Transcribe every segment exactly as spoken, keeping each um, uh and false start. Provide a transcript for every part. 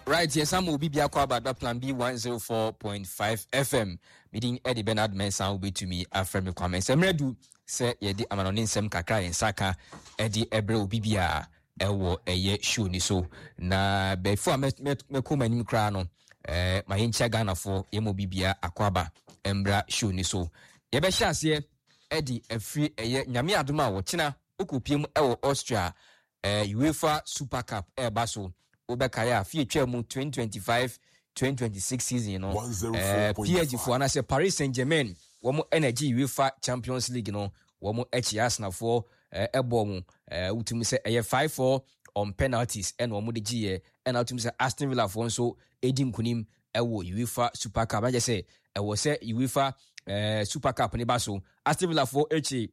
Right, yɛsan ma obi biako aba Plan B one oh four point five F M. Medin ɛde Bernard Mensa, wobɛtumi afrɛ me Kwame. Sɛ mmerɛ du sɛ yɛde amanɔne nsɛm kakra yɛn nsa ka ɛde ɛbrɛ obi biara ɛwɔ ɛyɛ show ni so. Na bɛfo a mɛkɔ mu anim koraa no, ɛɛ ma yɛnkyia Ghanafoɔ, yɛma obi biara akɔ aba mbra show ni so. Yɛbɛhyɛ aseɛ ɛde afiri ɛyɛ Nyame adom a wɔkyena wokɔpie mu ɛwɔ Austria, ɛɛ UEFA Super Cup ɛɛba so. Wobɛkaeɛ a fie twa mu twenty twenty-five twenty twenty-six season no, eh, P S G foɔ anaasɛ Paris Saint Germain wɔn ɛna gye UEFA Champions League no. Wɔn akyi Arsenalfoɔ ɛbɔ mu, wotumi sɛ ɛyɛ five four on penalties ɛna wɔn de gyeeɛ. Ɛna wotumi sɛ Aston Villa foɔ nso ɛdi nkunim ɛwɔ UEFA Super Cup. Ɛna sɛ ɛwɔ sɛ UEFA ɛɛ Super Cup ne ba so, Aston Villa foɔ akyi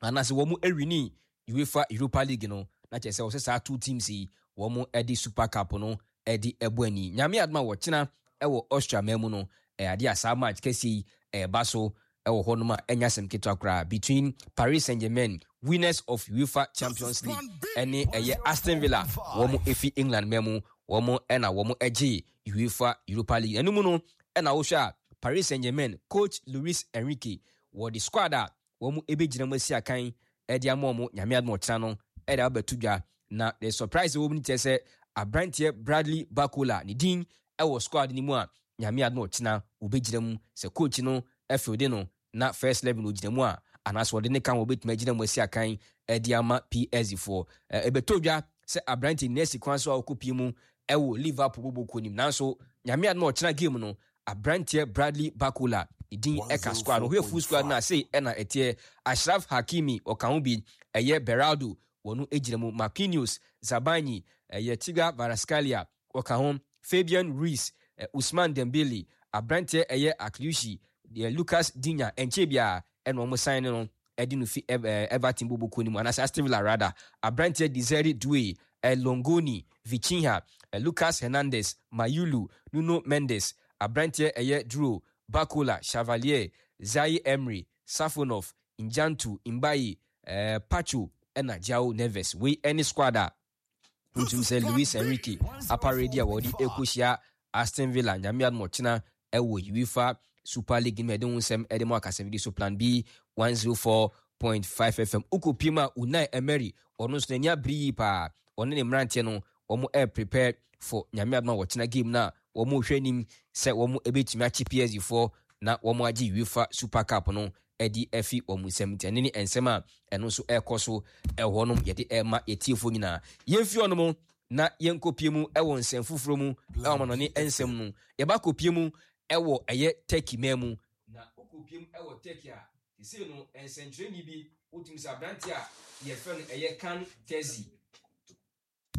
anaasɛ wɔn ɛwin UEFA Europa League no, na kyerɛ sɛ wɔsɛ saa two teams yi wɔn de Super Cup no de ɛbɔ ani. Nyame adom a wɔkyena ɛwɔ Austria man mu no, ɛyɛ adeɛ a saa match kɛseɛ yi ɛreba so ɛwɔ hɔnom a ɛnya asɛm ketewa koraa between Paris Saint Germain, winners of UEFA Champions League, ɛne ɛyɛ Aston Villa, wɔn efi England man mu, wɔn ɛna wɔn ɛgye UEFA Europa League. Ɛno mu no ɛna wohwɛ a Paris Saint Germain coach Luis Enrique wɔde squad a wɔn ɛbɛgyina mu asi akan ɛde ama wɔn Nyame adom ɔkyena no ɛde abɛto dwa. Na the surprise ɛwɔ mu no kyerɛ sɛ aberanteɛ Bradley Barcola ne din ɛwɔ squad no mu a Nyame adom ɔkyena wɔbɛgyina mu. Sɛ coach no ɛfield no na first eleven ogyina mu a, anaasɛ wɔde ne ka ho wɔbɛtumi agyina mu asi akan ɛde ama P S G foɔ. Ɛbɛtɔ dwa sɛ aberanteɛ nyinaa si kwan so a ɔkɔpie mu ɛwɔ Liverpool bɔbɔ nim, nanso Nyame adom ɔkyena game no, aberanteɛ Bradley Barcola ne din ɛka squad no. Ɔhwɛ full squad no ase ɛna ɛteɛ: Achraf Hakimi ɔka ho bi, ɛyɛ Beraldo wɔn gyina mu, Marquinhos, Zabarnyi, ɛyɛ Khvicha Kvaratskhelia ɔka ho, Fabian Ruiz, Ousmane Dembele, aberanteɛ ɛyɛ Akliushi, deɛ Lucas Digne ɛnkyɛn biara ɛna wɔn sign no ɛde no fi Everton boboko no mu anaasɛ Aston Villa rather, aberanteɛ Desire Doue, Longoni, Vitinha, Lucas Hernandez, Mayulu, Nuno Mendes, aberanteɛ ɛyɛ Dro, Barcola, Chevalier, Zaire Emery, Safonov, Njantu, Mbaye, eh, Pacho ɛna João Neves. Wei ɛne squad a wotum sɛ Luis Enrique aparedi a wɔde ɛkɔhyia Aston Villa Nyame adom ɔkyena ɛwɔ UEFA Super League no. Ɛde ho nsɛm ɛde mu akasɛmdi so Plan B one oh four point five F M. Wokɔpie mu a Unai Emery ɔno nso n'ani abere yie paa. Ɔne ne mmeranteɛ no wɔn ɛɛ prepare for Nyame adom a wɔkyena game no a wɔn rehwɛ anim sɛ wɔn ɛbɛtumi akye P S G foɔ na wɔn agye UEFA Super Cup no ɛde afi wɔn nsam. Nti ɛne ne nsɛm a ɛno nso ɛrekɔ so ɛwɔ nom yɛde ɛrema yɛtiefoɔ nyinaa. Yɛmfi hɔ na yɛnkɔpie mu ɛwɔ nsɛm foforɔ mu ɛwɔ amanɔne nsɛm no. Yɛba kɔpie mu ɛwɔ ɛyɛ Turkey man mu. Na wokɔpie mu ɛwɔ Turkey a sesei no nsɛnkyerɛnni bi wotumi sɛ aberante a yɛfrɛ no ɛyɛ Can Tezi,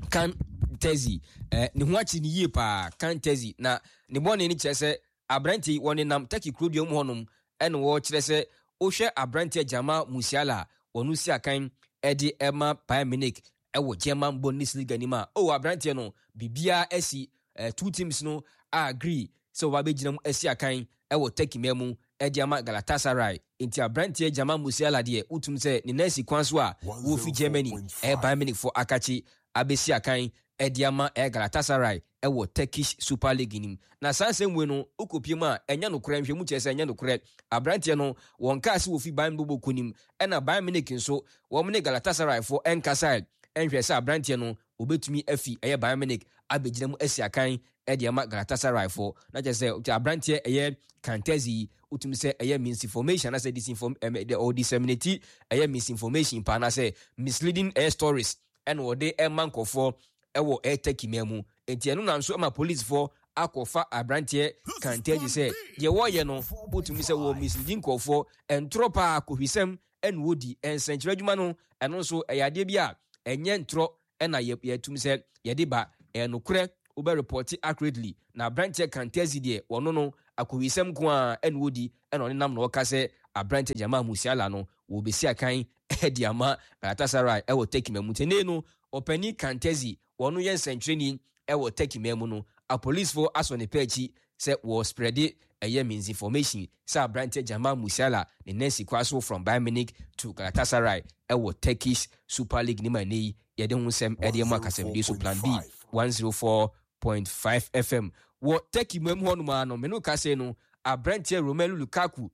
Can Tezi, eh, ne ho akyi ne yie paa. Can Tezi na ne bɔne no kyerɛ sɛ aberante yi wɔnenam Turkey kurodua mu hɔnom ɛna wɔkyerɛ sɛ wohwɛ aberante Jamal Musiala a wɔno si akan ɛde ɛma Bayern Munich ɛwɔ German Bundesliga nim a, oh, aberanteɛ no biribiara asi, eh, two teams no agree sɛ wɔba bɛgyina mu asi akan ɛwɔ Turkey man mu ɛde ama Galatasaray. Nti aberanteɛ Jamal Musiala deɛ wotum sɛ ne nan si kwan so a wɔfi Germany ɛyɛ Bayern Munich fo akakye abɛsi akan ɛde ama ɛyɛ Galatasaray ɛwɔ Turkish Super League nim. Na saa nsɛm wei no wokɔpie mu a ɛnyɛ nokorɛ. Nhwɛ mu kyerɛ sɛ ɛnyɛ nokorɛ. Aberanteɛ no wɔn kaa sɛ wɔfi Bayern bɔbɔ kɔ ɛna Bayern Munich nso wɔn ne Galatasaray foɔ ɛnkasae ɛnhwɛ sɛ aberanteɛ no obetumi afi ɛyɛ Bayern Munich abɛgyina mu asi akan ɛde ama Galatasaray foɔ. Na kyerɛ sɛ aberanteɛ ɛyɛ Kantezi yi wotumi sɛ ɛyɛ misinformation anaasɛ disinform ɛmɛ or disseminate ɛyɛ misinformation pa anaasɛ misleading ɛyɛ stories ɛna wɔde ɛma nkɔfoɔ ɛwɔ ɛyɛ Turkey man mu. Nti ɛno na nso ɛma policefoɔ akɔfa aberanteɛ Kantezi sɛ deɛ wɔreyɛ no wotumi sɛ wɔ misleading nkɔfoɔ, ɛntorɔ paa, kɔhwisɛm ɛna wɔdi nsɛnkyerɛ adwuma no. Ɛno nso ɛyɛ adeɛ bi a ɛnyɛ ntorɔ ɛna yɛtum sɛ yɛde ba ɛyɛ nokorɛ, wobɛ report accurately. Na aberanteɛ Kantezi deɛ wɔno no akɔwisɛm ko a ɛna wɔdi ɛna ɔne nam na ɔka sɛ aberanteɛ Jamal Musiala no wɔbɛsi akan ɛde ama Galatasaray ɛwɔ Turkey mu. Tene no ɔpanin Kantezi wɔno yɛ nsɛntwerɛni ɛwɔ Turkey man mu no, apolicefoɔ asɔ ne pɛ akyi sɛ wɔ spread ɛyɛ misinformation sɛ aberanteɛ Jamal Musiala ne nansi kwa so from Bayern Munich to Galatasaray ɛwɔ Turkish Super League ne ma ne yi yɛde ho nsɛm ɛde mu akasɛmdi so Plan B one oh four point five. point five F M. Wɔ Turkey mu hɔ nom a no, mene ka sɛ no, aberanteɛ Romelu Lukaku,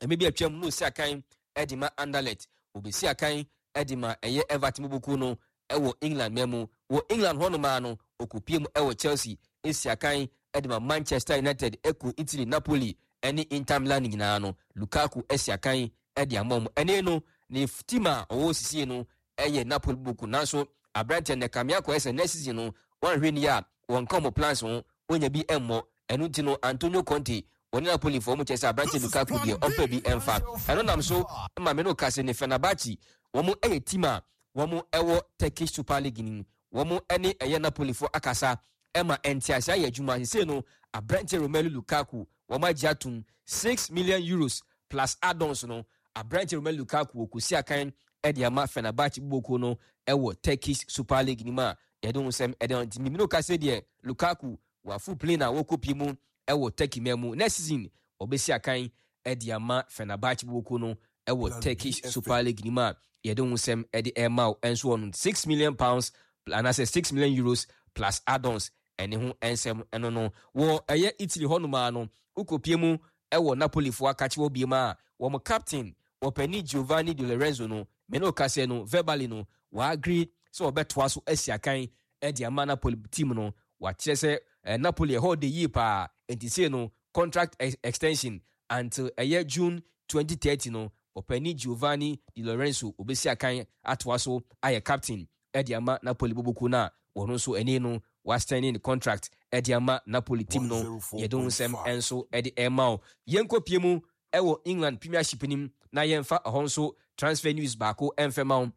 ɛmɛ bi atwam no, osi akan ɛde ma Anderlecht, obesi akan ɛde ma ɛyɛ Everton buku no ɛwɔ England mɛ. Wɔ England hɔ nom a no, okopie mu ɛwɔ Chelsea, esi akan ɛde ma Manchester United, ɛkɔ Italy, Napoli ɛne Inter Milan nyinaa no, Lukaku ɛsi akan ɛde ama mu. Ɛne no ne team a ɔwɔ sisie no ɛyɛ Napoli buku, nanso aberanteɛ no kame akɔyɛ sɛ next season no, wɔnhwɛ ni a, wɔnka ɔmo plans ho, wɔnya bi ɛmmɔ. Ɛno nti no, Antonio Conte wɔne Napoli foɔ mo kyerɛ sɛ aberanteɛ Lukaku deɛ, ɔmpɛ bi ɛmfa. Ɛno nam so ma me no ka sɛ ne Fenerbahce, wɔn ɛyɛ team a wɔn ɛwɔ Turkish Super League nim, wɔn ɛne ɛyɛ Napoli foɔ akasa ɛma ɛntease ayɛ adwuma. Sese no, aberanteɛ Romelu Lukaku, wɔn agye atum six million euros plus add-ons no. Aberanteɛ Romelu Lukaku wɔkɔsi akan ɛde ama Fenerbahce boko no ɛwɔ Turkish Super League nim a yɛde ho nsɛm ɛde nti mimino kase deɛ, Lukaku wafo plane a wɔkɔ pie mu ɛwɔ Turkey mɛ mu. Next season wɔbɛsi akan ɛde ama Fenerbahce boko no ɛwɔ Turkish Super League nim a yɛde ho nsɛm ɛde ɛma wo. Ɛnso wɔ no six million pounds anaasɛ six million euros plus add-ons, ɛne ho nsɛm ɛno no. Wɔ ɛyɛ Italy hɔnom a no, wokɔpie mu ɛwɔ Napolifoɔ akakye wɔ biem a wɔn captain, wɔpɛni Giovanni Di Lorenzo no, mene ɔkasɛ no, verbally no, wɔagree sɛ wɔbɛtoa so asi akan ɛde ama Napoli team no. Wakyerɛ sɛ eh, Napoli ɛhɔ de yie paa, nti sei no contract ex extension until ɛyɛ June twenty thirty no, ɔpɛni Giovanni Di Lorenzo obɛsi akan atoa so ayɛ captain ɛde ama Napoli boboku no a wɔno nso ɛni no waextend ne contract ɛde ama Napoli team no. Yɛde ho nsɛm nso ɛde ɛma wo. Yɛnkɔ pie mu ɛwɔ England Premiership nim na yɛmfa ɛhɔ nso transfer news baako ɛmfɛ ma wo.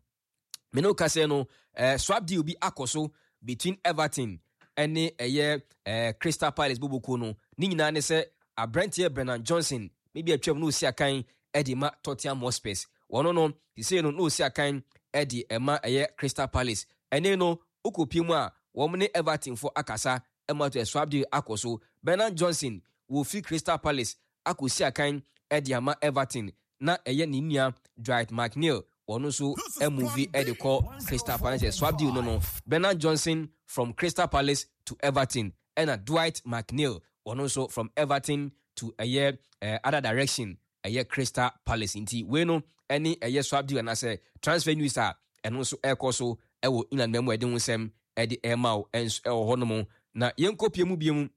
Mene wo kasɛ no, eh, swap deal bi akɔ so between Everton ɛne ɛyɛ eh, Crystal Palace boboko no. Ne nyinaa ne sɛ aberanteɛ Brennan Johnson, maybe atwam na osi akan ɛde ma Tottenham Hotspurs. Wɔno no sisei no na osi akan ɛde ɛma ɛyɛ Crystal Palace. Ɛne no wokɔpie mu a, wɔn ne Everton fo akasa ɛma to swap deal akɔ so. Brennan Johnson wɔfiri Crystal Palace akɔsi akan ɛde ama Everton, na ɛyɛ ne nua Dwight McNeil, wɔn nso ɛmove ɛde kɔ Crystal Palace. Swap deal no no Brennan Johnson from Crystal Palace to Everton, ɛna Dwight McNeil, wɔn nso from Everton to ɛyɛ ɛɛ other direction, ɛyɛ Crystal Palace. Nti wei no ɛne ɛyɛ swap deal anaasɛ transfer news a ɛno nso ɛrekɔ so ɛwɔ England mɛmu. Ɛde ho nsɛm ɛde ɛrema wo ɛnso ɛwɔ hɔnom. Na yɛnkɔ pie mu bie mu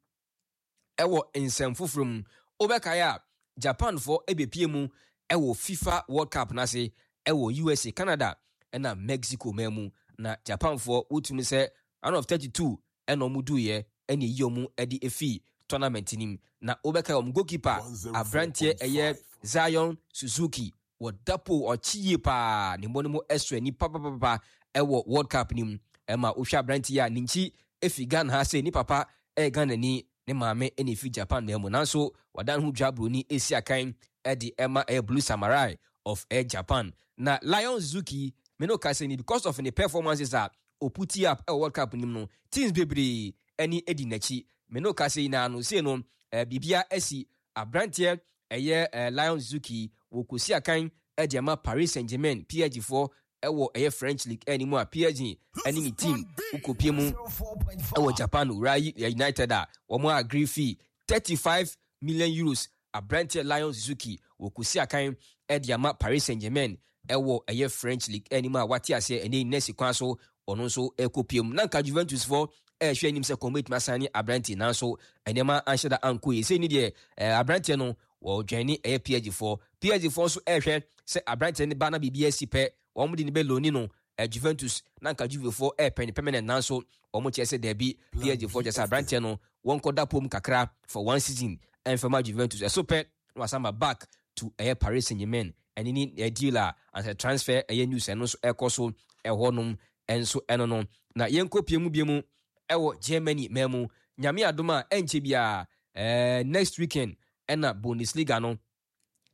ɛwɔ nsɛm foforɔ mu. Wobɛkae a, Japanfoɔ ɛbɛpie mu ɛwɔ FIFA World Cup n'ase ɛwɔ U S A, Canada ɛna Mexico man mu. Na Japanfoɔ wotumi sɛ round of thirty-two ɛna ɔmo duiɛ, ɛna eyi ɔmo ɛde efi tournament nim. Na wobɛkae, ɔmo goalkeeper aberanteɛ ɛyɛ Zion Suzuki, wɔda po ɔkyi yie paa, ne mmɔ no mu ɛso ani papapapa ɛwɔ World Cup nim. Ɛma wohwɛ aberanteɛ a ne nkyi efi Ghana ha sɛ ne papa ɛyɛ Ghana ni, ne maame ɛna efi Japan na mu, nanso wadan ho dwa buroni esi akan ɛde ɛma ɛyɛ Blue Samurai of ɛyɛ Japan. Na Lion Suzuki, me no kasa ni, because of ne performances a ɔput up ɛwɔ World Cup nim no, teams bebree ɛne edi n'akyi. Me no kasa yi na no sei no, ɛɛ biribia ɛsi aberanteɛ ɛyɛ ɛɛ Lion Suzuki wɔkɔsi akan ɛde ama Paris Saint Germain, P S G foɔ, ɛwɔ ɛyɛ French League ɛne mu a P S G ɛne ne team wokɔpie mu ɛwɔ Japan, Urawa United, a wɔn agree fee thirty five million euros. Aberanteɛ Lion Suzuki wɔkɔsi akan ɛde ama Paris Saint Germain ɛwɔ ɛyɛ French League ɛne mu a wate aseɛ ɛne nɛsi kwan so ɔno nso ɛkɔ mu. Na nka Juventus foɔ ɛrehwɛ anim sɛ kɔn bɛtumi asan ne aberanteɛ, nanso nneɛma anhyɛ da ankɔ yie. Sɛ ni deɛ, ɛɛ aberanteɛ no wɔdwɛn ne ɛyɛ P S G foɔ. P S G foɔ nso ɛrehwɛ sɛ aberanteɛ no ba na biribi asi pɛ, wɔn de ne bɛ loan no ɛ Juventus. Na nka Juve foɔ ɛɛpɛ ne permanent, nanso wɔn kyerɛ sɛ dɛbi. P S G foɔ kyerɛ sɛ aberanteɛ no wɔn kɔ pom kakra for one season ɛnfɛma Juventus, ɛso pɛ na wasan ba back to ɛyɛ Paris Saint Germain. Ɛne ne ɛ deal a ansɛ transfer ɛyɛ news ɛno nso ɛkɔ so ɛhɔnom ɛnso ɛno no. Na yɛnkɔ pie mu bie mu ɛwɔ Germany man mu. Nyame adom a, ɛnkyɛ biara, ɛɛ next weekend ɛna Bundesliga no,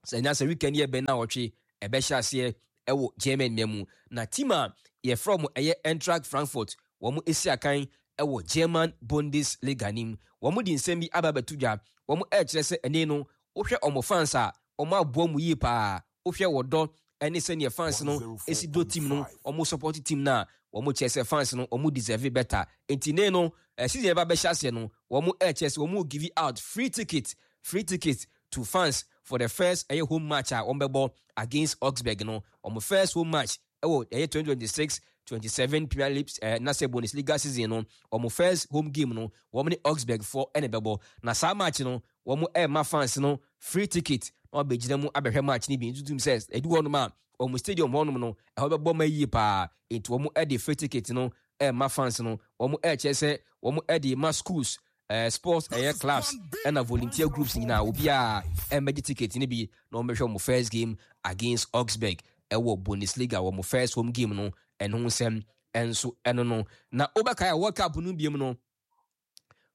sɛ nya sɛ weekend yɛ bɛn na wɔtwe ɛbɛhyɛ aseɛ ɛwɔ Germany man mu. Na team a yɛfrɛ mo ɛyɛ Eintracht Frankfurt, wɔn esi akan ɛwɔ German Bundesliga nim, wɔn de nsɛm bi aba abɛto dwa. Wɔn ɛrekyerɛ sɛ ɛne no, wohwɛ wɔn fans a, wɔn aboa mu yie paa. Wohwɛ wɔdɔ Ɛne sɛneɛ fans no esi do team no, ɔmo support team no a, wɔn kyerɛ sɛ fans no, wɔn deserve better. Nti ne no season yɛba bɛhyɛ aseɛ no, wɔn ɛkyerɛ sɛ wɔn give out free ticket free ticket to fans for the first ɛyɛ home match a wɔn bɛbɔ against Augsburg no. Wɔn first home match ɛwɔ ɛyɛ twenty twenty-six twenty-seven Premier League ɛɛ nasɛ Bundesliga season no, wɔn first home game no, wɔn ne Augsburg foɔ ɛna ɛbɛbɔ. Na saa match no, wɔn ɛɛma fans no free ticket na wɔabɛgyina mu abɛhwɛ match no bi. Ntutum sɛ ɛdu hɔnom a, wɔn stadium hɔnom no, ɛhɔ bɛbɔ ma yie paa. Nti wɔn ɛde free ticket no ɛɛma fans no. Wɔn ɛɛkyerɛ sɛ wɔn ɛde ma schools, ɛɛ sports ɛyɛ clubs ɛna volunteer groups nyinaa. Obiara ɛmmɛgye ticket no bi na wɔn bɛhwɛ wɔn first game against Augsburg ɛwɔ Bundesliga, wɔn first home game no. Ɛno ho nsɛm ɛnso ɛno no. Na wobɛkae a, World Cup no biem no,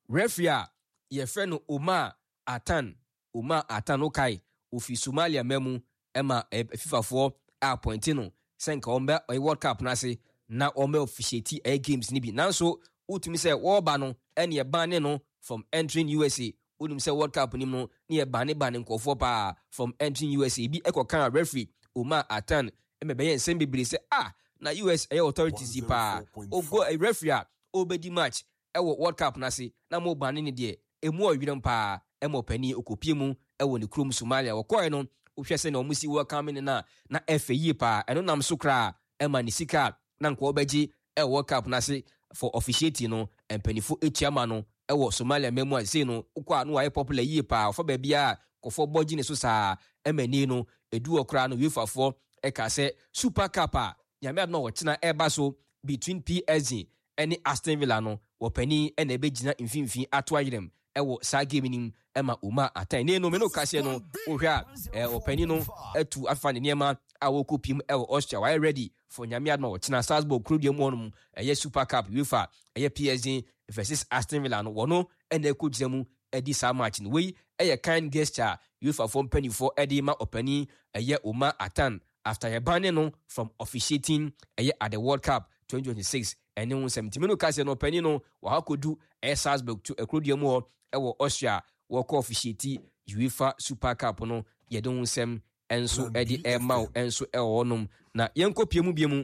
referee a yɛfrɛ no Omar Atan, Omar Atan, wokae ofi Somalia ma mu, ɛma FIFAfoɔ appoint no sɛ nka wɔn bɛ ɛyɛ World Cup no ase na wɔn bɛ officiate ɛyɛ games no bi. Nanso wotumi sɛ wɔreba no, ɛne ɛban ne no from entering U S A. Wonim sɛ World Cup nim no ne yɛ ban ban nkɔfoɔ paa from entering U S A. Bi ɛkɔka referee Omar Atan ɛmɛ bɛyɛ nsɛm bebree sɛ, ah, na U S ɛyɛ authorities yi paa, ogo referee a ɔbɛdi match ɛwɔ World Cup n'ase na mo ban ne deɛ, emu ɔwerɛm paa. Ɛma ɔpanin okopie mu ɛwɔ ne kurom Somalia. Wɔkɔɛ no, wohwɛ sɛ na wɔn si welcome ne na na ɛfɛ yie paa. Ɛno nam so koraa ɛma ne sika na nka ɔbɛgye ɛwɔ World Cup n'ase for officiating no, mpanimfoɔ etua ma no ɛwɔ Somalia mɛmu. A sei no wokɔ a, no wayɛ popular yie paa. Ɔfa baabi a kɔfɔ bɔ gye ne so saa. Ɛma ni no edu wɔ koraa no, UEFA foɔ ɛka sɛ Super Cup a Nyame adom a wɔkyena ɛba so between P S G ɛne Aston Villa no, wɔpanin ɛna ɛbɛgyina mfimfini ato ayerɛm ɛwɔ saa game no mu ɛma Omar Atan ne no. Me no kaseɛ no, wohwɛ a, ɛɛ ɔpanin no atu afa ne nneɛma a wɔkɔ piem ɛwɔ Austria. Wayɛ ready for Nyame adom a wɔkyena Salzburg kurodua mu hɔnom, ɛyɛ Super Cup UEFA, ɛyɛ P S G versus Aston Villa no, wɔno ɛna ɛkɔ gyina mu ɛdi saa match no. Wei ɛyɛ kind gesture a UEFA foɔ mpanimfoɔ ɛde ma ɔpanin ɛyɛ Omar Atan after yɛban no from officiating ɛyɛ at the World Cup twenty twenty-six. Ɛne ho nsɛm ntumi no kaseɛ no, ɔpanin no wɔha kɔdu ɛyɛ Salzburg to akurodua mu hɔ ɛwɔ Austria, wɔkɔ officiate UEFA Super Cup no. Yɛde ho nsɛm ɛnso ɛde ɛma wo ɛnso ɛwɔ hɔnom. Na yɛnkɔ pie mu bie mu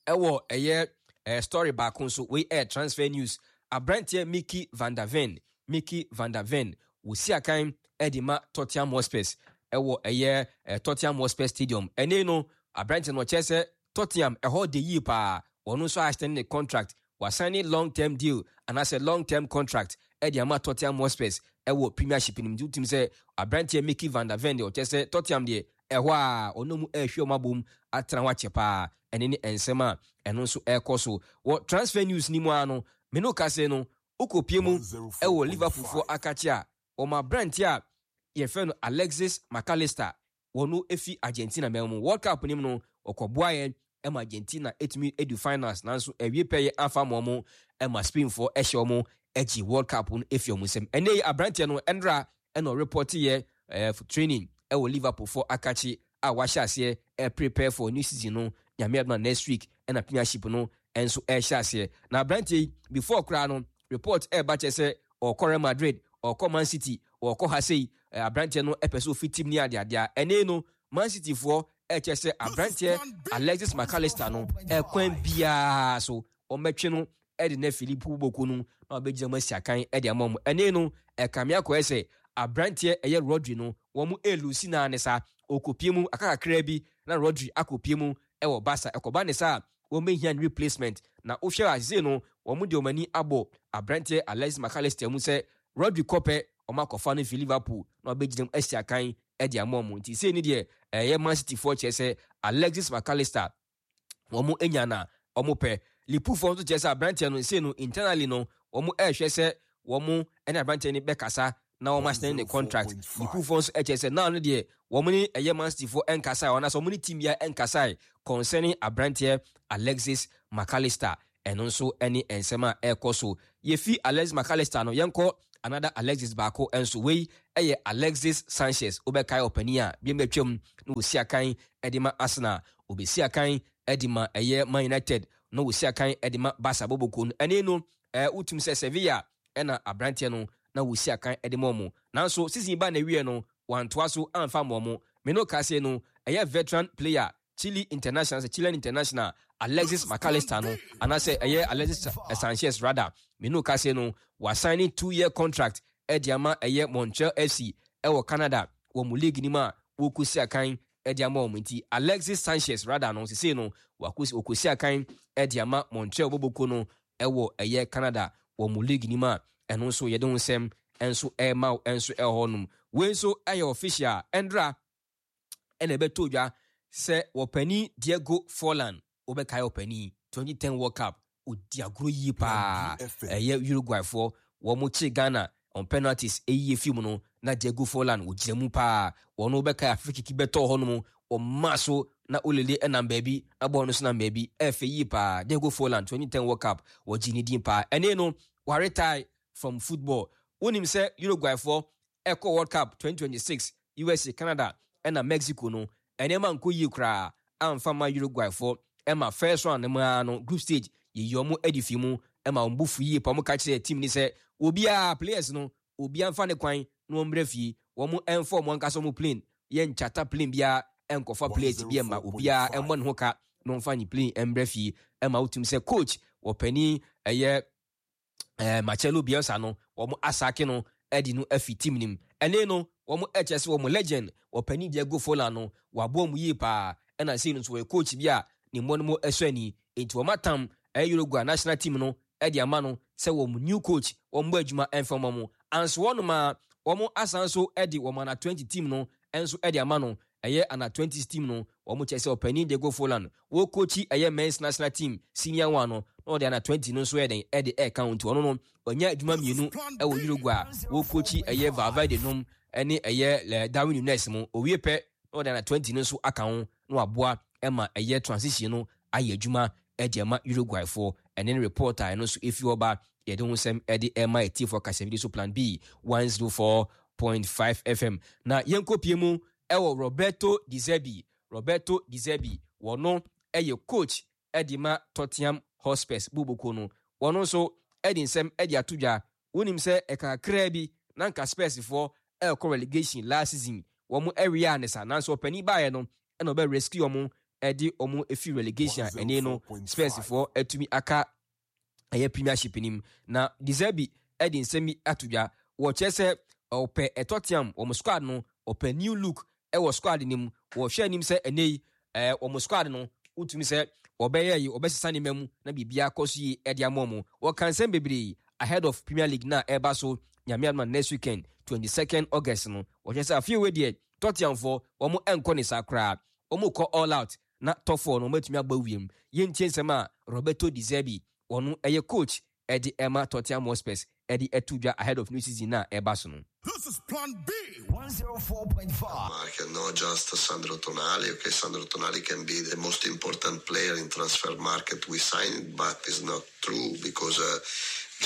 ɛwɔ ɛyɛ ɛɛ story baako nso. Wei ɛyɛ transfer news. Aberanteɛ Mickey van der Ven, Mickey van der Ven, wosi akan ɛde ma Tottenham Hotspurs ɛwɔ ɛyɛ ɛɛ Tottenham Hotspur Stadium. Ɛne no, aberanteɛ no ɔkyerɛ sɛ Tottenham ɛhɔ de yie paa. Wɔn nso extend ne contract, wasan ne long term deal anaasɛ long term contract ɛde ama Tottenham Hotspurs ɛwɔ Premiership nim. Nti wotum sɛ aberanteɛ Mickey van der Ven deɛ, ɔkyerɛ sɛ Tottenham deɛ, ɛhɔ a ɔno mu ɛrehwɛ ɔmo abom atena hɔ akyɛ paa. Ɛne ne nsɛm a ɛno nso ɛrekɔ so wɔ transfer news ni mu ara no. Mene kase no, wokɔpie mu ɛwɔ Liverpool foɔ akakye a, wɔn aberanteɛ a yɛfrɛ no Alexis McAllister, wɔn efi Argentina mɛn mu. World Cup nim no, ɔkɔboa yɛn ɛma Argentina etumi edu finals, nanso ɛwie pɛ yɛ afa ma wɔn, ɛma Spain foɔ ɛhyɛ wɔn ɛgye World Cup no efi wɔn nsam. Ɛnɛ yi aberanteɛ no ɛnra ɛna ɔreport yɛ ɛɛ training ɛwɔ Liverpool foɔ akakye a wahyɛ aseɛ ɛ prepare for new season no. Nyame adoma, next week ɛna Premiership no ɛnso ɛhyɛ aseɛ. Na aberanteɛ yi, before koraa no, report ɛɛba kyerɛ sɛ ɔkɔ Real Madrid, ɔkɔ Man City, ɔkɔ ha sei. Aberanteɛ no ɛpɛ sɛ ofi team ne adeadeɛ. Ɛnɛ no, Man City foɔ ɛkyɛ sɛ aberanteɛ Alexis McAllister no, ɛkwan biara so ɔmɛtwe no ɛde ne Philip Boko no na ɔbɛgyina mu asi akan ɛde ama mu. Ɛnɛ no, ɛkame akɔyɛ sɛ aberanteɛ ɛyɛ Rodri no, wɔn mu elusi naa ne saa okopie mu aka kakra bi na Rodri akopie mu ɛwɔ Barca. Ɛkɔba ne saa, wɔn bɛhia ne replacement. Na wohwɛ a, no wɔn de wɔn ani abɔ aberanteɛ Alexis McAllister mu sɛ Rodri kɔpɛ, wɔn akɔfa no fi Liverpool na ɔbɛgyina mu asi akan ɛde ama wɔn. Nti sei ne deɛ ɛyɛ Man City foɔ kyerɛ sɛ Alexis McAllister, wɔn anya na wɔn pɛ. Liverpool foɔ nso kyerɛ sɛ aberanteɛ no sei no, internally no, wɔn ɛrehwɛ sɛ wɔn ɛne aberanteɛ no bɛkasa na wɔn asign ne contract. Liverpool foɔ nso ɛkyerɛ sɛ now no deɛ, wɔn ne ɛyɛ Man City foɔ ɛnkasa, wɔn anaasɛ wɔn ne team bia ɛnkasa concerning aberanteɛ Alexis McAllister. Ɛno nso ɛne nsɛm a ɛrekɔ so. Yɛfi Alexis McAllister no, yɛnkɔ another Alexis baako nso. Wei ɛyɛ Alexis Sanchez. Wobɛkae ɔpanin a bi mbɛtwam na wɔsi akan ɛde ma Arsenal, obɛsi akan ɛde ma ɛyɛ Man United, na wɔsi akan ɛde ma Barca boboko no. Ɛne no, ɛɛ wotum sɛ Sevilla ɛna aberanteɛ no na wɔsi akan ɛde ma ɔmo, nanso season ba na ewie no, wantoa so amfa ma ɔmo. Me no kase no, ɛyɛ veteran player, Chile international, sɛ Chilean international Alexis McAllister no, anaasɛ ɛyɛ Alexis Sanchez rather, me no kase no, wasign two year contract ɛde ama ɛyɛ Montreal F C ɛwɔ Canada wɔ mu league nim a wɔkɔsi akan ɛde ama wɔn. Nti Alexis Sanchez rather no, sesei no wakɔsi wɔkɔsi akan ɛde ama Montreal boboko no ɛwɔ ɛyɛ Canada wɔ mu league nim a ɛno nso yɛde ho nsɛm nso ɛrema wo nso ɛwɔ hɔnom. Wei nso ɛyɛ official. Ɛndra ɛna ɛbɛtɔ dwa sɛ wɔpani Diego Forlan, wobɛkae ɔpani twenty ten World Cup, ɔdi agorɔ yie paa. Ɛyɛ Uruguayfoɔ wɔn kye Ghana on penalties ɛyie fi mu no, na Diego Forlan wɔgyina mu paa. Wɔn wobɛkae afe kiki bɛtɔɔ hɔ nom, ɔma so na olele ɛnam baabi na bɔɔl no so nam baabi, ɛfɛ yie paa. Diego Forlan, twenty ten World Cup, wɔgye ne din paa. Ɛne no waretire from football. Wonim sɛ Uruguayfoɔ ɛkɔ World Cup twenty twenty-six U S A, Canada ɛna Mexico no, ɛnneɛma nkɔ yie koraa amfa ma Uruguayfoɔ. Ɛma first round no mu ara no, group stage, yɛyi ɔmo adi fi mu, ɛma wɔn bo fu yie pa. Ɔmo ka kyerɛ team ni sɛ obiara, players no, obiara mfa ne kwan na wɔn mbrɛ fie, wɔn ɛmfa wɔn ankasa wɔn plane, yɛn nkyata plane biara ɛnkɔfa players bi ɛma obiara ɛmmɔ ne ho ka na wɔmfa ne plane ɛmbrɛ fie. Ɛma wotum sɛ coach wɔpanin ɛyɛ ɛɛ Marcelo Bielsa no, wɔn asack no ɛde no afi team nim. Ɛne no wɔn ɛkyɛ sɛ wɔn legend wɔpanin Diego Forlan no waboa mu yie paa, ɛna sei no nso wɔyɛ coach bi a ne mmɔ no mu ɛsɔ ani, nti wɔn atam ɛyɛ Uruguay national team no ɛde ama no sɛ wɔn new coach wɔn bɔ adwuma ɛmfa wɔn mo anso. Wɔn a wɔn asan so ɛde wɔn under twenty team no ɛnso ɛde ama no, ɛyɛ under twenty team no. Wɔn kyerɛ sɛ ɔpanin Diego Forlan wɔ coach ɛyɛ men's national team senior one no, na ɔde under twenty no nso ɛde ɛde ɛka ho. Nti ɔno no ɔnya adwuma mmienu ɛwɔ Uruguay a wɔ coach ɛyɛ Valverde nom ɛne ɛyɛ Darwin Nunez mu. Owie pɛ na ɔde under twenty no nso aka ho na waboa ɛma ɛyɛ transition no ayɛ adwuma ɛde ama Uruguayfoɔ. Ɛne ne report a ɛno nso efi hɔ ba, yɛde ho nsɛm ɛde ɛma etiefoɔ kasafidie so, Plan B one zero four point five F M. Na yɛnkɔ pie mu ɛwɔ Roberto De Zerbi. Roberto De Zerbi, wɔno ɛyɛ coach ɛde ma Tottenham Hotspurs boboko no. Wɔno nso ɛde nsɛm ɛde ato dwa. Wonim sɛ ɛka kakraa bi na nka Spursfoɔ ɛrekɔ relegation last season. Wɔn ɛwia ne sa, nanso ɔpanin baeɛ no ɛna ɔbɛ rescue wɔn, ɛde wɔn efi relegation a ɛne no Spursfoɔ atumi aka ɛyɛ Premiership nim. Na De Zerbi ɛde nsɛm bi ato dwa. Wɔkyerɛ sɛ ɔpɛ Tottenham wɔn squad no, ɔpɛ new look ɛwɔ squad no mu. Wɔhwɛ anim sɛ ɛnɛ yi ɛɛ wɔn squad no, wotumi sɛ wɔbɛyɛ yi, wɔbɛsesa nneɛma mu na biribiara kɔ so yie ɛde ama wɔn. Wɔka nsɛm bebree ahead of Premier League na ɛreba so, Nyame adoma, next weekend, twenty second August no. Wɔhwɛ sɛ afei wei deɛ, Tottenhamfoɔ wɔn nkɔ ne saa koraa, wɔn kɔ all out na top four no wɔn atumi abɔ wiem. Yɛntie nsɛm a Roberto De Zerbi, wɔn ɛyɛ coach ɛde ɛma Tottenham Hotspurs, ɛde ɛto dwa ahead of new season na ɛba so no. This is Plan B. one oh four point five. Market, not just Sandro Tonali. Okay, Sandro Tonali can be the most important player in transfer market we signed, but it's not true because uh,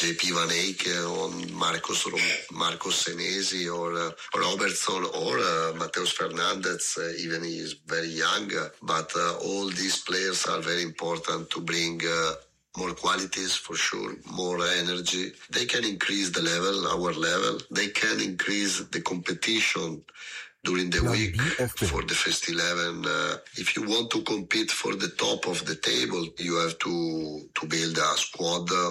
J P Van Eyck or Marcos Marcos Senesi or uh, Robertson or uh, Mateus Fernandez, uh, even he is very young, uh, but uh, all these players are very important to bring uh, more qualities for sure, more energy. They can increase the level, our level. They can increase the competition during the Plan week B F M. For the first eleven. Uh, if you want to compete for the top of the table, you have to, to build a squad uh,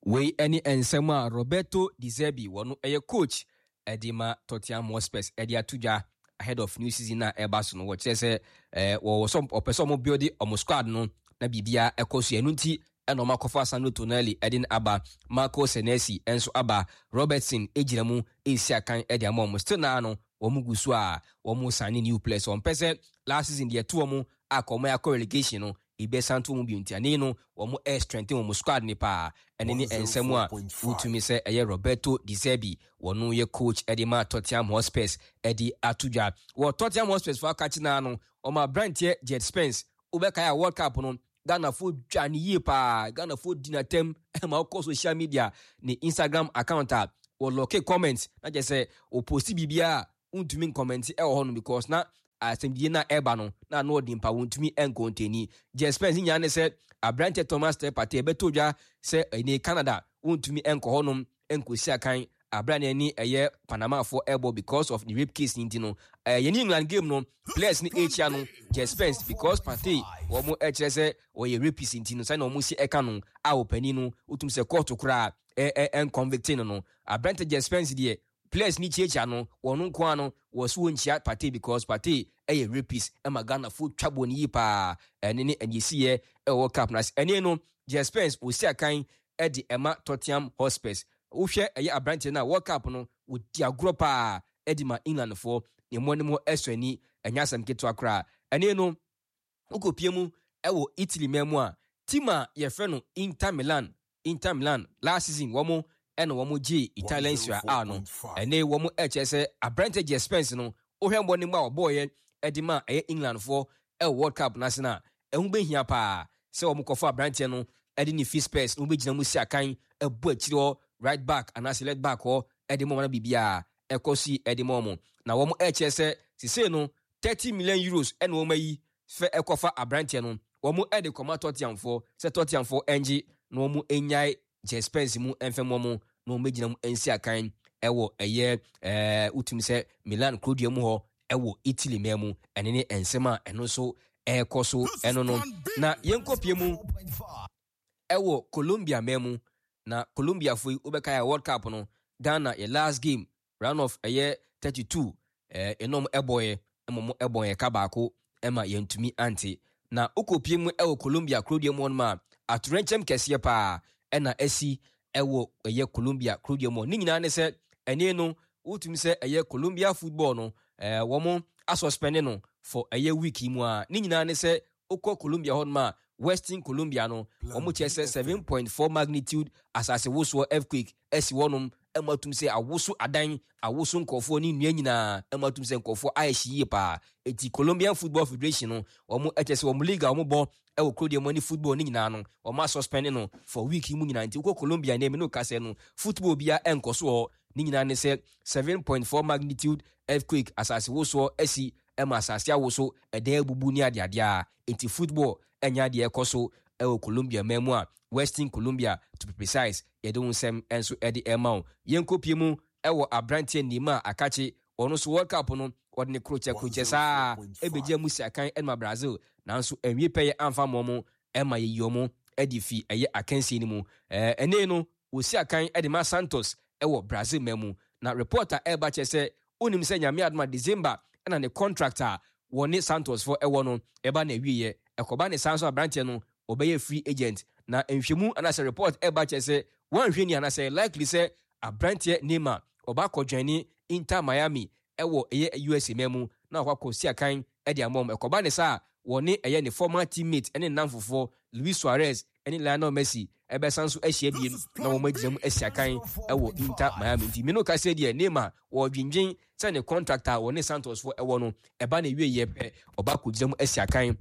Wei ne nsɛm a Roberto De Zerbi, wɔno ɛyɛ coach ɛde ma Tottenham Hotspurs, ɛde ato dwa ahead of new season a ɛba so no. Wɔkyerɛ sɛ ɛɛ wɔwɔ sɛ ɔpɛ sɛ ɔmo build ɔmo squad no na biribiara ɛkɔ so. Ɛno nti ɛna ɔmo akɔfa Sandro Tonali ɛde no aba, Marco Senesi ɛnso aba, Robertson egyina mu esi akan ɛde ama ɔmo. Still naa no wɔn gu so a wɔn sign new players. Wɔn pɛ sɛ last season deɛ ɛto wɔn a kɔ akɔ relegation no ebi to wɔn bi, nti ane no wɔn ɛ strengthen wɔn squad ne paa. Ɛne ne nsɛm a wotumi sɛ ɛyɛ Roberto De Zerbi, wɔn yɛ coach ɛde ma Tottenham Hotspurs, ɛde ato dwa. Wɔ Tottenham Hotspurs fo akakye naa no, wɔn aberanteɛ Djed Spence, wobɛkae a World Cup no Ghanafoɔ dwa ne yie paa. Ghanafoɔ di n'atɛm ma wokɔ social media, ne Instagram account a wɔlock comment na kyerɛ sɛ ɔpost biribiara a wontumi ncomment ɛwɔ hɔ no, because na asɛmdie no a ɛba no na ano ɔde mpa, wɔntumi nkontani. Djed Spence nyinaa ne sɛ aberanteɛ Thomas Partey ɛbɛtɔ dwa sɛ ɛne Canada wontumi nkɔ hɔnom nkɔsi akan. Abira ne ani ɛyɛ Panamafoɔ ɛbɔ because of the rape case ni. Nti no ɛɛ yɛne England game no, players ne ɛkyia no, Djed Spence, because Partey wɔn ɛkyerɛ sɛ ɔyɛ rapist, nti no sɛnea wɔn si ɛka no a ɔpanin no wotum sɛ court koraa ɛ ɛ ɛnconvict no no aberante Djed Spence deɛ, players ni kyiakyia no, wɔn nko ara no wɔ so wɔnkyia Partey because Partey ɛyɛ rapist. Ɛma Ghanafoɔ twa bɔ ne yie paa. Ɛne ne ɛdeɛsiyɛ ɛwɔ cup na ɛne no, Djed Spence wɔsi akan ɛde ɛma Tottenham Hotspurs. Wohwɛ ɛyɛ aberanteɛ no a, World Cup no wɔdi agorɔ paa ɛde ma Englandfoɔ ne mu anim ɛsɔ ani, ɛnyɛ asɛm ketewa koraa. Ɛne no wokɔpie mu ɛwɔ Italy man mu a, team a yɛfrɛ no Inter Milan. Inter Milan last season wɔn ɛna wɔn gye Italian Serie A no. Ɛne wɔn ɛkyerɛ sɛ aberanteɛ Djed Spence no, wohwɛ mbɔ ne mu a wɔbɔɔyɛ ɛde ma ɛyɛ Englandfoɔ ɛwɔ World Cup n'ase no a, ɛho bɛhia paa sɛ wɔn kɔfɔ aberanteɛ no ɛde ne fi Spurs na wɔbɛgyina mu si akan ɛbɔ akyire hɔ, right back anaasɛ left back hɔ, ɛde ma wɔn biribiara ɛkɔ si ɛde ma wɔn. Na wɔn ɛkyerɛ sɛ sisei no thirty million euros ɛna wɔn ayi fɛ ɛkɔfa aberanteɛ no. Wɔn ɛde kɔma Tottenhamfoɔ sɛ Tottenhamfoɔ ɛngye na wɔn ɛnyae Djed Spence mu ɛmfɛm wɔn na wɔn bɛgyina mu ɛnsi akan ɛwɔ ɛyɛ ɛɛ wotum sɛ Milan kurodua mu hɔ ɛwɔ Italy man mu. Ɛne ne nsɛm a ɛno nso ɛrekɔ so ɛno no. Na yɛnkɔpie mu ɛwɔ Colombia man mu. Na Colombiafoɔ yi, wobɛka yɛ World Cup no, Ghana yɛ last game, round of ɛyɛ thirty-two, ɛɛ ɛnɔm ɛbɔyɛ ɛma mo ɛbɔ yɛ ka baako ɛma yɛntumi ante. Na wokɔpie mu ɛwɔ Colombia kurodua mu hɔnom a, atorɛnkyɛm kɛseɛ paa ɛna asi ɛwɔ ɛyɛ Colombia kurodua mu. Ne nyinaa ne sɛ ɛne no wotumi sɛ ɛyɛ Colombia football no, ɛɛ wɔn asuspend no for ɛyɛ week yi mu a. Ne nyinaa ne sɛ wokɔ Colombia hɔnom a, western Colombia no, wɔn kyerɛ sɛ seven point four magnitude asase wosoɔ, earthquake, ɛsi hɔnom ɛma tum sɛ awoso adan, awoso nkɔfoɔ ne nnua nyinaa, ɛma tum sɛ nkɔfoɔ ayɛ hye yie paa. Eti Colombian Football Federation no, wɔn ɛkyɛ sɛ wɔn league a wɔn bɔ ɛwɔ kurodua mu ne football ne nyinaa no, wɔn asuspend no for week yi mu nyinaa. Nti wokɔ Colombia ne emi no kasa no, football bia ɛnkɔ so hɔ. Ne nyinaa ne sɛ seven point four magnitude earthquake, asase wosoɔ, asi ɛma asase awoso, ɛdan abubu ne adeadeɛ a, nti football ɛnyɛ adeɛ ɛkɔ so ɛwɔ Colombia man mu a, western Colombia to be precise. Yɛde wo nsɛm nso ɛde ɛma wo. Yɛnkɔpie mu ɛwɔ aberanteɛ Neymar akakye. Ɔno nso World Cup no, ɔde ne krokyɛ krokyɛ saa ɛbɛgya mu si akan ɛma Brazil, nanso ɛnwie pɛyɛ amfa mmɔ mo ɛma yɛyi ɔmo ɛde fi ɛyɛ akansie no mu. ɛɛ ɛnɛ no wɔsi akan ɛde ma Santos ɛwɔ Brazil man mu. Na report a ɛreba kyerɛ sɛ wonim sɛ Nyame adoma, December ɛna ne contract a wɔne Santos fo ɛwɔ no ɛba na awieɛ. Ɛkɔba ne saa nso, aberanteɛ no ɔbɛyɛ free agent. Na nhwɛmu anaasɛ report ɛba kyerɛ sɛ wɔnhwɛ ni anaasɛ likely sɛ aberanteɛ Neymar ɔba akɔdwane Inter Miami ɛwɔ ɛyɛ U S A man mu na ɔkɔ akɔ si akan ɛde ama wɔn. Ɛkɔba ne saa, wɔne ɛyɛ ne former teammate ɛne nam fofoɔ Luis Suarez ɛne Lionel Messi ɛbɛsan so ahyia biem na wɔn agyina mu asi akan ɛwɔ Inter Miami. Nti mino kasa deɛ, Neymar wɔdwendwen sɛ ne contract a wɔne Santos foɔ ɛwɔ no ɛba na ewie yɛ pɛ, ɔba akɔgyina mu asi akan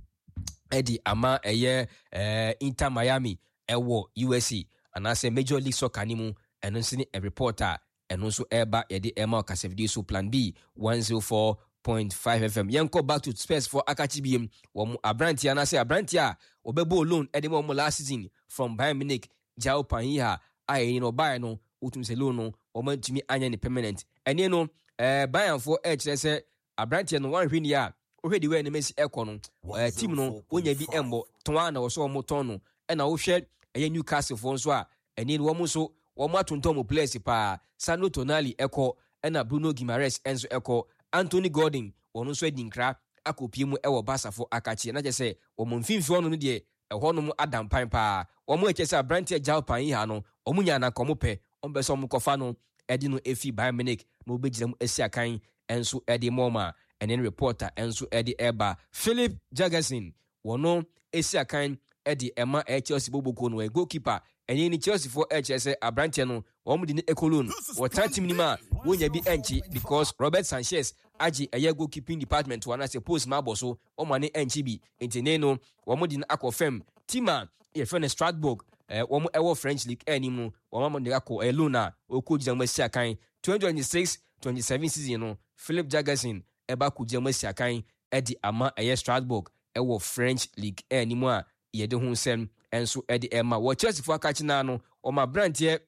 ɛde ama ɛyɛ ɛɛ Inter Miami ɛwɔ U S A anaasɛ Major League Soccer ne mu. Ɛno nso ne report a ɛno nso ɛreba yɛde ɛma ɔkasafidie so, Plan B one zero four point five F M. Yɛnkɔ back to Spurs for akakye biem. Wɔn aberanteɛ anaasɛ aberanteɛ a wɔbɛbɔ loan ɛde ma wɔn last season from Bayern Munich, Joao Palhinha, a ɛyi no ɔbaeɛ no, wotum sɛ loan no wɔn antumi anyɛ ne permanent. Ɛne no ɛɛ Bayernfoɔ ɛrekyerɛ sɛ aberanteɛ no wɔanhwɛ nie a, wohwɛ de wei anim asi ɛkɔ no, ɛɛ team no wonya bi ɛmbɔ tɔn a na wɔsɔ wɔn tɔn no. Ɛna wohwɛ ɛyɛ Newcastle foɔ nso a, ɛne no wɔn nso wɔn atontɔn mu players paa. Sandro Tonali ɛkɔ, ɛna Bruno Guimaraes nso ɛkɔ. Anthony Gordon, wɔn nso adi nkra akɔpie mu ɛwɔ Basafo akakye. Na kyerɛ sɛ wɔn mfimfini hɔ no deɛ, ɛhɔnom ada mpan paa. Wɔn ɛkyɛ sɛ aberanteɛ Joao Palhinha no, wɔn nya anaka wɔn pɛ, wɔn pɛ sɛ wɔn kɔfa no ɛde no efi Bayern Munich na wɔbɛgyina mu asi akan nso ɛde mɔm a. Ɛne no reporter nso ɛde ɛba, Philip Jurgensen, wɔn esi akan ɛde ɛma ɛyɛ Chelsea boboko no, ɛyɛ goalkeeper. Ɛne ni Chelsea foɔ ɛkyerɛ sɛ aberanteɛ no wɔn de ne ɛkɔ loan, wɔtena team no mu a wɔnya bi ɛnkye because Robert Sanchez agye ɛyɛ goalkeeping department wɔn anaasɛ post ma abɔ so, wɔn ani ɛnkye bi. Nti ne no wɔn de no akɔ fam team a yɛfrɛ no Strasbourg, ɛɛ wɔn ɛwɔ French League ɛnim no. Wɔn ama de akɔ ɛyɛ loan a ɔkɔ gyina mu asi akan twenty twenty six twenty seven season no. Philip Jurgensen ɛba kɔ gyina mu asi akan ɛde ama ɛyɛ Strasbourg ɛwɔ French League ɛnim a yɛde ho nsɛm nso ɛde ɛma wɔ. Chelsea fo akakye naa no, wɔn aberanteɛ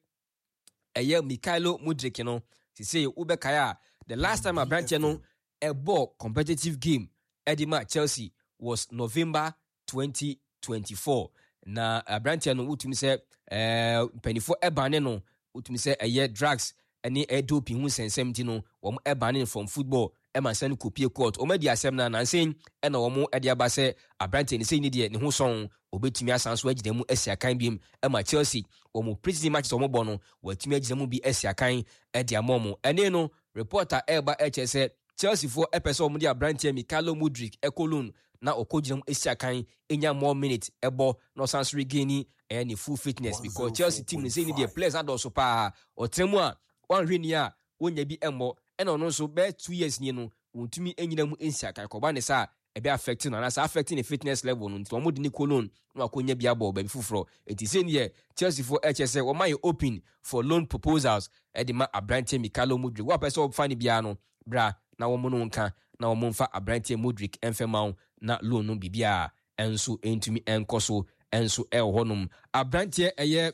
Ɛyɛ Mykhailo Mudryk no sisei wobɛkae a, the last time aberanteɛ no ɛbɔ competitive game ɛde ma Chelsea was November twenty twenty-four. Na aberanteɛ no, wotumi sɛ ɛɛ mpanimfoɔ ɛbane no, wotumi sɛ ɛyɛ drugs ɛne ɛyɛ doping ho nsɛnsɛm ti no, wɔn ɛbane no from football, ɛma nsɛm no kɔpie court. Wɔn adi asɛm no nansen ɛna wɔn ɛde aba sɛ aberanteɛ no sɛ ne deɛ ne ho sɔn, obetumi asan so agyina mu asi akan biem ɛma Chelsea. Wɔn pre-season matches wɔn bɔ no, wɔatumi agyina mu bi asi akan ɛde ama wɔn. Ɛne no reporter ɛreba ɛkyerɛ sɛ Chelsea foɔ ɛpɛ sɛ wɔn de aberanteɛ Mykhailo Mudryk ɛkɔ loan na ɔkɔ gyina mu esi akan, enya more minutes ɛbɔ, na ɔsan so regain ɛyɛ ne full fitness, because Chelsea team no sɛ ne deɛ players adɔɔso paa. Ɔtena mu a wɔnhwɛ ni a wɔnya bi ɛmmɔ, ɛna ɔno nso bɛyɛ two years nie no, wɔntumi nyina mu nsi akan. Kɔba ne sa ɛbɛ affect no anaasɛ affect ne fitness level no, nti wɔn de ne kɔ loan na wakɔnya bi abɔ baabi foforɔ. Nti sɛ neɛ Chelsea foɔ ɛkyɛ sɛ wɔn ayɛ open for loan proposals ɛde ma aberanteɛ Mykhailo Mudryk. Wɔapɛ sɛ wɔfa ne biara no bra na wɔn no nka na wɔn mfa aberanteɛ Mudryk ɛmfɛ ma wo, na loan no biribiara ɛnso ntumi ɛnkɔ so. Ɛnso ɛwɔ hɔnom, aberanteɛ ɛyɛ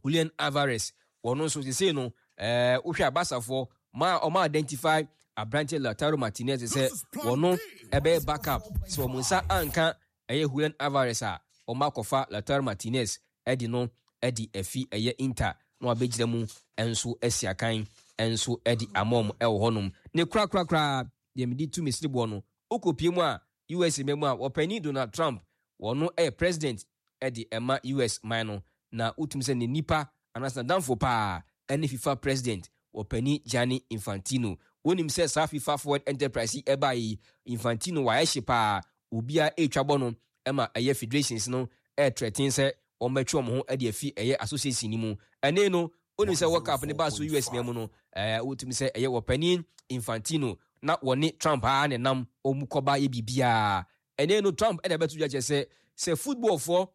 Julian Alvarez, wɔn nso sesei no ɛɛ wohwɛ abasafoɔ ma ɔma identify aberanteɛ Lautaro Martinez sɛ wɔno ɛbɛyɛ backup. Sɛ wɔn nsa anka ɛyɛ Julian Alvarez a, wɔn akɔfa Lautaro Martinez ɛde no ɛde afi ɛyɛ Inter na wabɛgyina mu ɛnso asi akan ɛnso ɛde ama wɔn ɛwɔ hɔnom. Ne korakorakora deɛ mede tu mesiri boɔ no, wokɔpie mu a U S mu a, wɔpanin Donald Trump, wɔno ɛyɛ president ɛde ɛma U S man no, na wotumi sɛ ne nipa anaasɛ n'adamfo paa ɛne FIFA president, wɔpanin Gianni Infantino. Wonim sɛ saa FIFA Forward Enterprise yi ɛbaa yi, Infantino wayɛ hye paa. Obiara ɛretwa bɔ no ɛma ɛyɛ federations no ɛɛtrɛten sɛ wɔn bɛtwe wɔn ho ɛde afi ɛyɛ association no mu. Ɛne no wonim sɛ World Cup ne baa so U S mu no, ɛɛ wotumi sɛ ɛyɛ wɔpanin Infantino na wɔne Trump aa ne nam wɔn kɔba yɛ biribiara. Ɛne no Trump ɛna ɛbɛto dwa kyerɛ sɛ sɛ footballfoɔ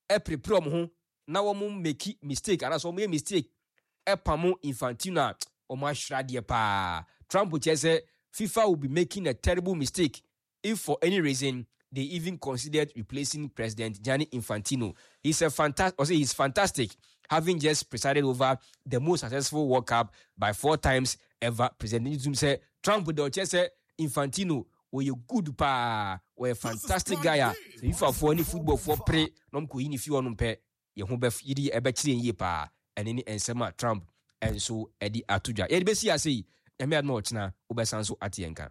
ɛpirepire wɔn ho na wɔn make mistake anaasɛ wɔn yɛ mistake ɛpamo Infantino a, wɔn ahwerɛ adeɛ paa. Trump kyerɛ sɛ FIFA will be making a terrible mistake if for any reason they even considered replacing President Gianni Infantino. He's a fantastic, or say he's fantastic, having just presided over the most successful World Cup by four times ever president. Sɛ Trump de ɔkyerɛ sɛ Infantino wɔyɛ good paa, wɔyɛ fantastic guy a sɛ FIFA foɔ ne football foɔ pere na ɔmo kɔ yi ne fi hɔ nom pɛ, yɛn ho bɛ yiri ɛbɛkyerɛ yɛn yie paa. Ɛne ne nsɛm a Trump ɛnso ɛde ato dwa. Yɛde bɛsi ase yi, Nyame adom a, ɔkyena wobɛsan so ate yɛn ka.